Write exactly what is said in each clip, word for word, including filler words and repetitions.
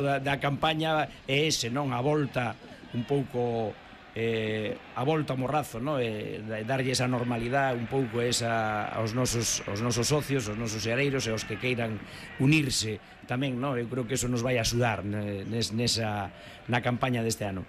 da, da campaña é ese, non? A volta un pouco eh, a volta ao morrazo, non? E darlle esa normalidade un pouco esa aos nosos aos nosos socios, aos nosos seareiros e aos que queiran unirse tamén, non? Eu creo que eso nos vai a axudar nes, nesa na campaña deste ano.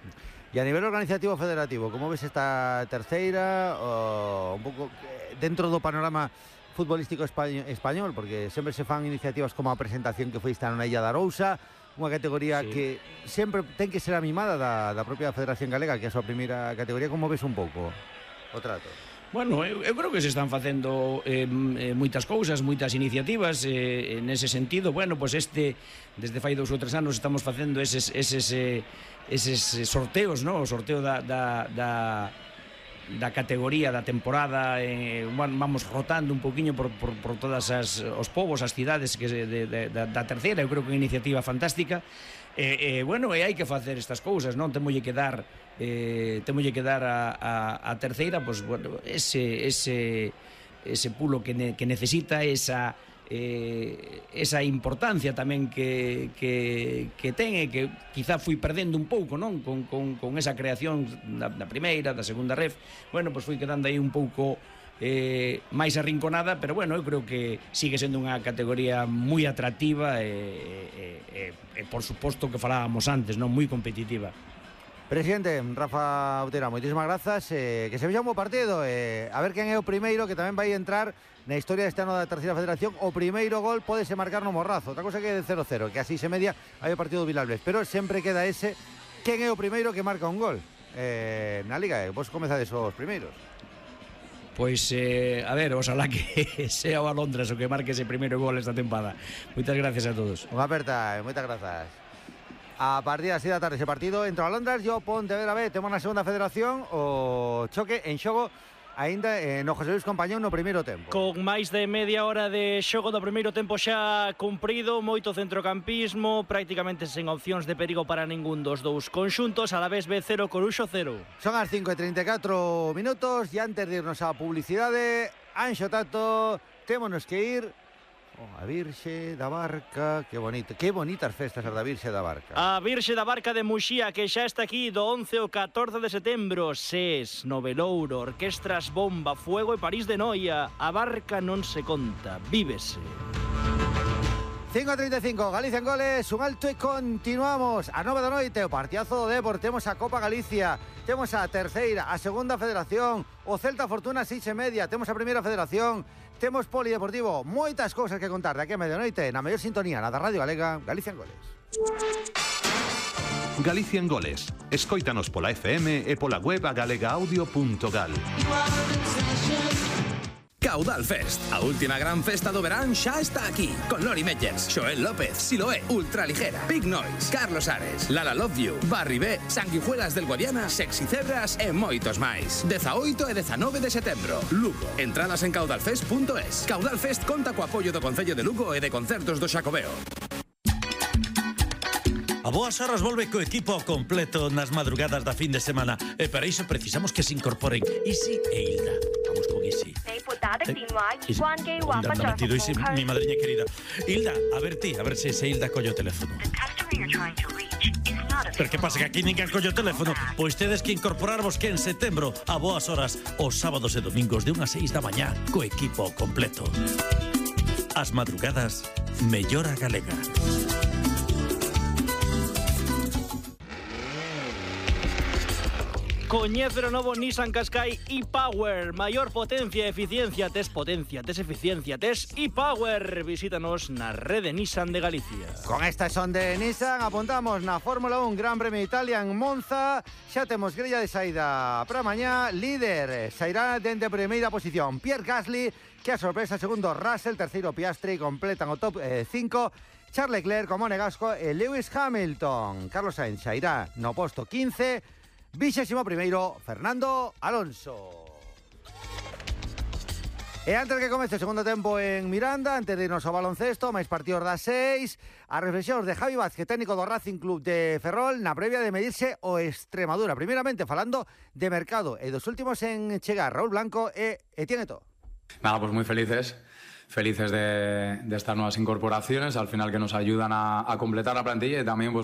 E a nivel organizativo federativo, como ves esta terceira, o un pouco dentro do panorama futbolístico español, porque sempre se fan iniciativas como a presentación que foi esta na Illa da Arousa, unha categoría sí. que sempre ten que ser amimada da, da propia Federación Galega, que é a súa primeira categoría. Como ves un pouco o trato? Bueno, eu, eu creo que se están facendo eh, moitas cousas, moitas iniciativas eh, nese sentido. Bueno, pois pues este, desde fai dous ou tres anos estamos facendo eses, eses, eh, eses sorteos, no? O sorteo da, da, da, da categoría, da temporada, eh, vamos rotando un poquinho por, por, por todas as, os povos, as cidades que de, de, de, da terceira. Eu creo que é unha iniciativa fantástica. E, eh, bueno, e hai que facer estas cousas, non? Temolle que dar eh, temolle que dar a, a, a terceira, pois, bueno, ese, ese, ese pulo que, ne, que necesita, esa eh, esa importancia tamén que, que, que ten e que quizá fui perdendo un pouco, non? Con, con, con esa creación da, da primeira, da segunda ref. Bueno, pois fui quedando aí un pouco Eh, máis arrinconada, pero bueno, eu creo que sigue sendo unha categoría moi atractiva e, e, e, e por suposto que falábamos antes, non, moi competitiva. Presidente Rafa Outera, moitísimas grazas, eh, que se vexa un bo partido, eh, a ver quen é o primeiro que tamén vai entrar na historia deste ano da terceira federación. O primeiro gol podese marcar no Morrazo, outra cosa que é de cero cero, que a seis e media hai o partido do Vilalbes, pero sempre queda ese, quen é o primeiro que marca un gol eh, na Liga. Vos comezades os primeiros. Pois, eh, a ver, oxalá que sea o Alondras o que marque ese primeiro gol esta tempada. Moitas gracias a todos. Unha aperta, moitas grazas. A partir das seis da tarde ese partido entre o Alondras e o Pontevedra B. Temos na segunda federación o choque en xogo aínda eh, no José Luis Compañón no primeiro tempo. Con máis de media hora de xogo do primeiro tempo xa cumprido, moito centrocampismo, prácticamente sen opcións de perigo para ningún dos dous conxuntos. Alavés B cero, Coruxo cero. Son as cinco e trinta e catro minutos e antes de irnos á publicidade, Anxo Tato, témonos que ir a Virxe da Barca. Que bonito, que bonitas festas as da Virxe da Barca. A Virxe da Barca de Muxía, que xa está aquí do once ao catorce de setembro. SES, Novelouro, Orquestras Bomba, Fuego e París de Noia. A Barca non se conta, vívese. cinco a treinta e cinco, Galicia en goles, un alto e continuamos. A nove da noite, o partidazo do Depor, temos a Copa Galicia, temos a terceira, a segunda federación, o Celta Fortuna seis e media, temos a primeira federación, temos polideportivo, moitas cousas que contar de aquí a medianoite na mellor sintonía, na da Radio Galega, Galicia en goles. Galicia en goles, escóitanos pola F M e pola web a galega audio punto gal. Caudal Fest, a última gran festa do verán xa está aquí, con Lori Meyers, Xoel López, Siloé, Ultraligera, Big Noise, Carlos Ares, Lala Love You, Barry B, Sanguijuelas del Guadiana, Sexy Cebras e moitos máis. dezaoito e dezanove de setembro, Lugo. Entradas en caudalfest punto es. Caudal Fest conta co apoio do Concello de Lugo e de Concertos do Xacobeo. A boas horas volve co equipo completo nas madrugadas da fin de semana e para iso precisamos que se incorporen Isi e Hilda. Vamos con Isi. Isi, mi madriña querida. Hilda, a ver ti, a ver se se Hilda colle o teléfono. Pero que pasa, que aquí ninguén colle o teléfono? Pois tedes que incorporarvos que en setembro a boas horas os sábados e domingos de unha a seis da mañá co equipo completo. As madrugadas mellora galega. Coñece o novo Nissan Qashqai e-Power. Maior potencia e eficiencia. Tes potencia, tes eficiencia, tes e-Power. Visítanos na rede Nissan de Galicia. Con esta son de Nissan apuntamos na Fórmula un Gran Premio de Italia en Monza. Xa temos grella de saída para mañá. Líder sairá dende a primeira posición Pierre Gasly, que a sorpresa segundo Russell, terceiro Piastri, completan o top cinco. Charles Leclerc, como Monegasco e Lewis Hamilton. Carlos Sainz sairá no posto quince. Vixésimo primeiro, Fernando Alonso. E antes que comece o segundo tempo en Miranda, antes de irnos ao baloncesto, máis partidos das seis, as reflexións de Javi Vázquez, técnico do Racing Club de Ferrol, na previa de medirse o Extremadura. Primeiramente falando de mercado e dos últimos en chegar, Raúl Blanco e Etienne Eto'o. Nada, pues muy felices. felices de, de estas nuevas incorporaciones, al final que nos ayudan a, a completar la plantilla y también pues